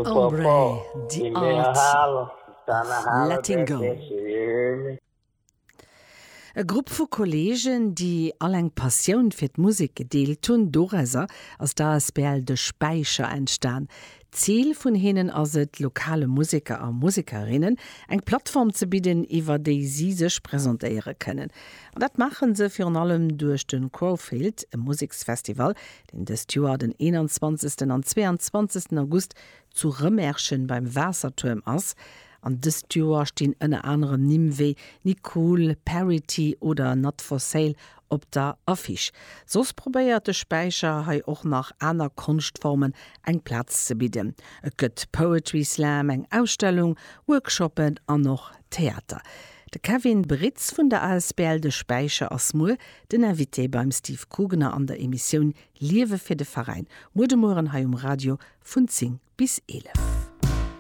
Ombre, The Art of Letting Go. E Grupp vu Kolleegen, déi all eng Passioun fir d'Musek gedeelt hunn. Dorauser ass d'ASBL De Späicher entstan. D'Zil vun hinnen ass et, lokale Museker a Musekerinnen eng Plattform ze bidden, iwwer déi si sech presentéiere kënnen. An dat maache se virun allem duerch de Crowfield, e Museksfestival, deen dëst Joer den 21. an 22. August zu Rëmerschen beim Waassertuerm ass. An dëst Joer stinn ënner anerem Nimm wéi Nicool, Parity oder Not For Sale op der Affiche. Soss probéiert de Späicher hei och nach aner Konschtformen eng Plaz ze bidden. Et gëtt Poetry Slam, eng Ausstellung, Workshoppen an och Theater. De Kevin Britz vun der asbl De Späicher ass muer den Invité beim Steve Kugener an der Emissioun Liewe fir de Veräin, muer de Mueren hei um Radio vun 10 bis 11.